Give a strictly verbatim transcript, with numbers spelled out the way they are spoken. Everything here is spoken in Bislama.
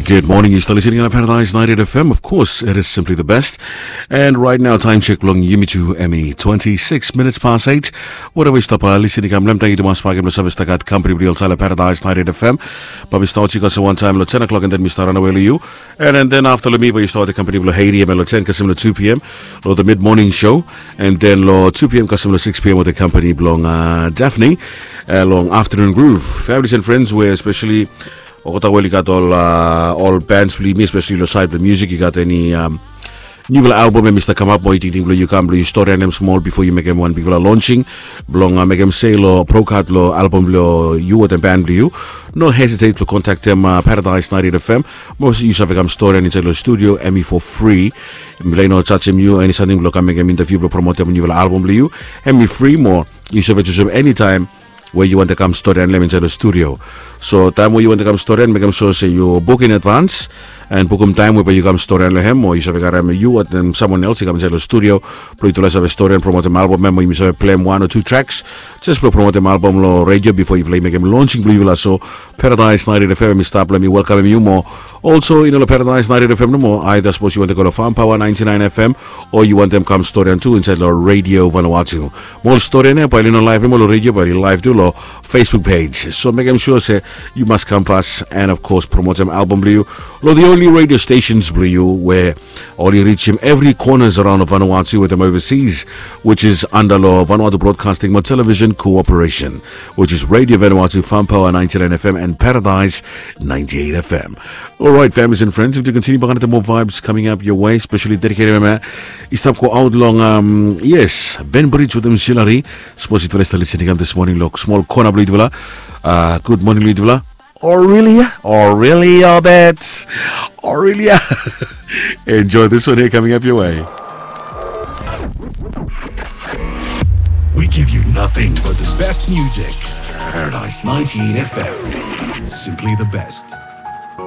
Good morning, yu stap listening on Paradise ninety-eight F M. Of course, it is simply the best. And right now, time check blong yumi tu, Emmy, twenty-six minutes past eight. Whatever yu stap listening, kam lem, thank you to mas pakim lo service takat company blong yu olsem Paradise ninety-eight F M. But mi stap yu kasem one time lo ten o'clock and then mi stap run away lo yu. And, and then after lo mi, but yu stap the company blong Haiti, em lo ten kasem lo two p.m. Lo the mid morning show. And then lo two p.m. kasem lo six p.m. with the company blong uh, Daphne. Uh, long afternoon groove. Families and friends, where especially Okota weli gat ol uh, ol bands blong yumi, especially lo side blong music, yu gat eni um, niufala album em i stap kamap, mo yu tingting blong yu kam blong yu storian em smol bifo yu mekem wan bigfala launching blong uh, mekem se lo prokat lo album blong yu wetem band blong yu. No hesitate blong kontaktem uh, Paradise ninety-eight F M. Mo yu save kam storian insaed lo studio, em i for free. Mifala i no jajem yu eni samting blong kam mekem interview blong promotem niufala album blong yu. Em i free, mo yu save jusum eni taem we yu wantem kam storian lo hem insaed lo studio. So taem we yu wantem kam storian, mekem sua se yu buk in advance and bukum taem we bae yu kam storian lo hem, o yu save karem yu wetem someone else i kam insaed lo studio blong yutufala save storian, promotem album em, o yumi save pleim wan o tu tracks jes blong promotem album lo radio bifo yufala i mekem launching blong yufala. So Paradise ninety-eight F M i stap, let mi welkamem yu mo. Also, i no lo Paradise ninety-eight F M nomo, aida sapos yu wantem go lo Farm Power ninety-nine F M o yu wantem kam storian tu insaed lo Radio Vanuatu. Mo ol storian ya bae oli no live nomo lo radio, bae oli live tu lo Facebook page. So mekem sua se yu mas kam fas and of course promotem album blong yu lo the only radio stations blong yu we oli rijim evri corners around Vanuatu wetem overseas, which is under lo Vanuatu Broadcasting mo Television Cooperation, which is Radio Vanuatu, Farm Power ninety-nine F M and Paradise ninety-eight F M. All right, families and friends, we do continue back to more vibes coming up your way, especially dedicated, mama. I stap go out long, um, yes, Ben Bridge wetem Shilari. Sapos yutufala i stap listening kam this morning lo smol kona blong yutufala. Uh, good morning lo yutufala. Aurelia, Aurelia Bets, Aurelia. Enjoy this one here coming up your way. We give you nothing but the best music. Paradise ninety-eight F M. Simply the best.